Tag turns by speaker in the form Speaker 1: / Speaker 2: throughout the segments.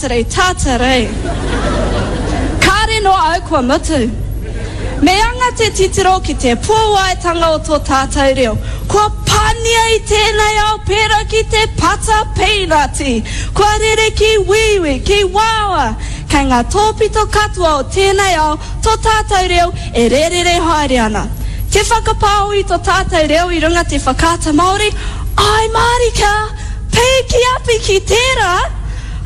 Speaker 1: Tātere, tātere. Kāre noa au kua mutu. Me anga te titiro ki te puawaitanga o tō tātou reo. Kua pania i tēnei ao pērā ki te pata pīnati. Kua rere ki wīwī, ki wāwā. Kei ngā tōpito katoa o tēnei ao tō tātou reo e rērere haere ana. Te whakapāho i tō tātou reo i runga te whakaata Māori, āe mārika! Pīki api ki tērā!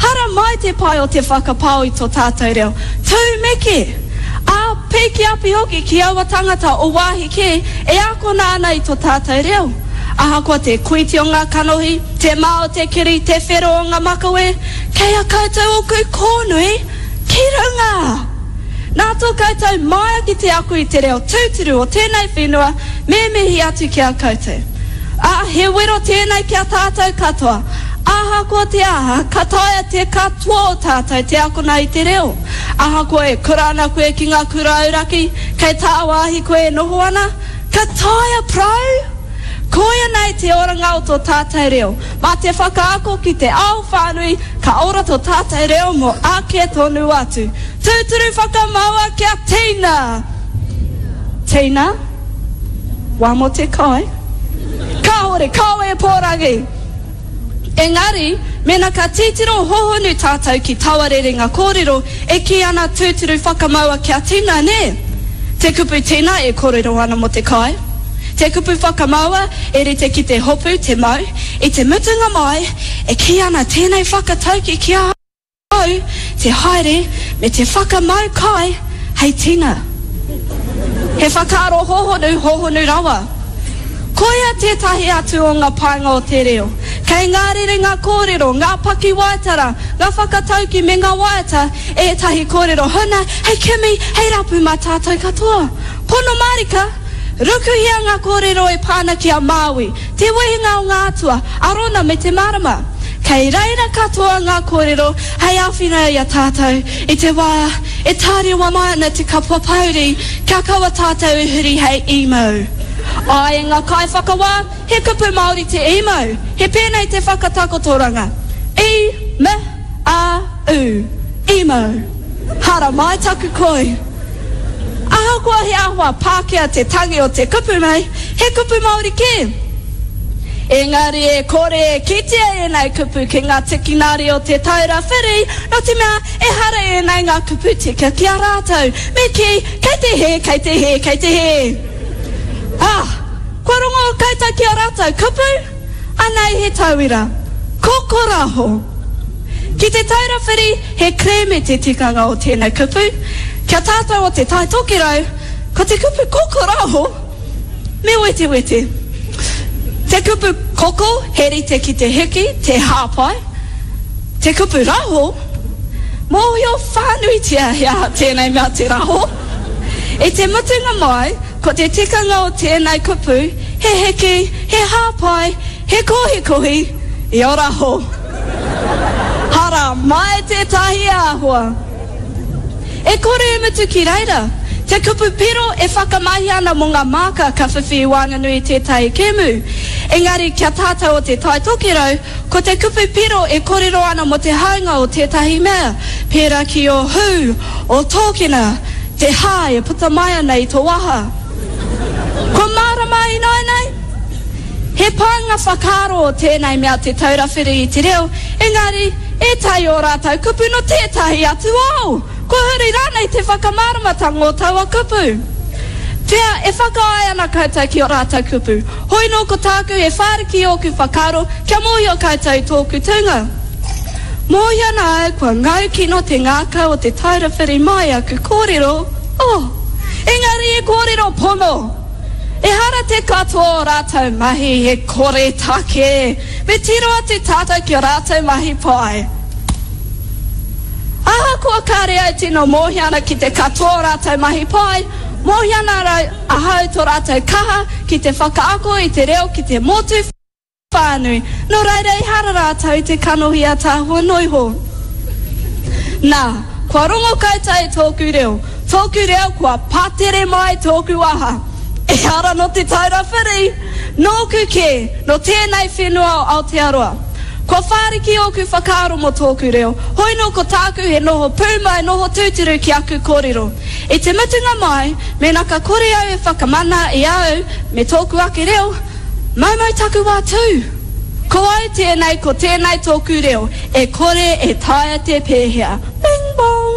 Speaker 1: Haramai te pai o te whakapao i to tātou reo. Tūmeke! Ā, pīki api hoki ki aua tangata o wāhi kē e akona ana i to tātou reo. Ahakoa te kuiti o ngā kanohi, te mā o te kiri, te whero o ngā makawe, kei a koutou oku kōnui ki runga! Nā tō koutou māia ki te ako i te reo tūturu o tēnei whenua, me mihi atu ki a koutou. Ā, he wero tēnei ki a tātou katoa. Ahakoa te aha, ka taea te katoa o tātou te akona i te reo. Ahakoa e kura ana koe ki ngā kura auraki, kei tāwāhi koe e noho ana, ka taea prau! Koia nei te oranga o tō tātou reo. Mā te whakaako ki te ao whānui, ka ora tō tātou reo mō ake tonu atu. Tūturu whakamaua kia tina! Tina? Wā mō te kai? Kāore, kāore e pōrangi! Engari, mēnā ka titiro hohonu tātou ki taua rerenga kōrero e kī ana tūturu whakamaua kia tina, nē? Te kupu tina e kōrero ana mō te kai. Te kupu whakamaua e rite ki te hopu, te mau. I te mutunga mai, e kī ana tēnei whakatauki ki ahau. Au te haere me te whakamau kai hei tina. He whakaaro hohonu, hohonu rawa. Koia tētahi atu o ngā painga o te reo. Kei ngā rerenga kōrero, ngā pakiwaitara, ngā whakatauki me ngā waiata ētahi kōrero huna hei kimi, hei rapu mā tātou katoa. Pono mārika, rukuhia ngā kōrero e pā ana ki a Māui, Te wehenga o ngā atua, Arona me te marama. Kei reira katoa ngā kōrero hei āwhina i a tātou i te wā e tārewa mai ana te kapua pōuri kia kaua tātou e huri hei emo. Āe ngā kaiwhakawā, he kupu Māori te emo. He pēnei te whakatakotoranga, I, m, a, u. Emo. Haramai taku koi. Ahakoa he āhua Pākehā te tangi o te kupu nei, he kupu Māori kē. Engari e kore e kitea ēnei kupu ki ngā tikinari o Te Taura Whiri, nō te mea ehara ēnei ngā kupu tika ki a rātou. Me kī, kei te hē, kei te hē, kei te hē. Ah! Kua rongo koutou ki ā rātou kupu? Anei he tauira. Kokoraho. Ki Te Taura Whiri, he kerēme te tikanga o tēnei kupu. Ki a tātou o Te Tai Tokerau, ko te kupu kokoraho, me wetewete. Te kupu koko, he rite ki te hiki, te hāpai. Te kupu raho, mōhio whānuitia he aha tēnei mea te raho. I te mutunga mai, ko te tikanga o tēnei kupu, he hiki, he hāpai, he kohikohi i ō raho. Hara mai tētahi āhua. E kore e mutu ki reira. Te kupu piro e whakamahia ana mō ngā māka ka whiwhi i waenganui i tētahi kēmu. Engari kia tātou o Te Tai Tokerau, ko te kupu piro e korero ana mō te haunga o tētahi mea, pērā ki ō hū, ō tōkena, te hā e puta mai ana i tō waha. Kua mārama ināianei? He painga whakaaro o tēnei mea te taura whiri i te reo, engari, ētahi o rātou kupu nō tētahi atu ao! Kua huri rānei te whakamāramatanga o taua kupu? Pea, e whakaae ana koutou ki ō rātou kupu. Hoi nō ko tāku he whāriki i ōku whakaaro kia mōhio koutou i tōku tūnga. Mōhio ana au kua ngau kino te ngākau o te taura whiri mai aku kōrero, oh! Engari e kōrero pono! Ehara te katoa o rātou mahi he koretake, me tiro atu tātou ki a rātou mahi pai. Ahakoa kāre au tino mōhio ana ki te katoa o rātou mahi pai, mōhio ana ahau tō rātou kaha ki te whakaako i te reo ki te motu whānui, nō reira ehara rātou i te kanohi ātaahua noa iho. Nā, kua rongo koutou i tōku reo, tōku reo kua patere mai tōku waha. Ehara nō Te Taura Whiri, nōku kē, nō tēnei whenua o Aotearoa. Kua whāriki ōku whakaaro mō tōku reo, hoi nō ko tāku he noho pūmau noho tūturu ki aku kōrero. I te mutunga mai, mēnā ka kore au e whakamana i a au me tōku ake reo, maumau taku wā tū! Ko au tēnei, ko tēnei tōku reo, e kore e taea te pēhea. Bing bong!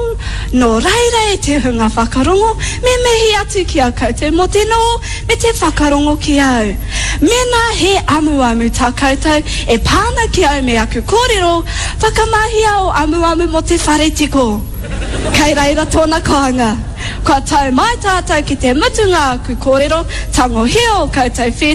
Speaker 1: Nō reira e te hunga whakarongo, me mihi atu ki a koutou mō te noho me te whakarongo ki au. Mēnā he amuamu tā koutou e pā ana ki au me aku kōrero, whakamahia ō amuamu mō te whare tiko. Kei reira tōna kāinga. Kua tau mai tātou ki te mutunga aku kōrero, tangohia ō koutou whētau.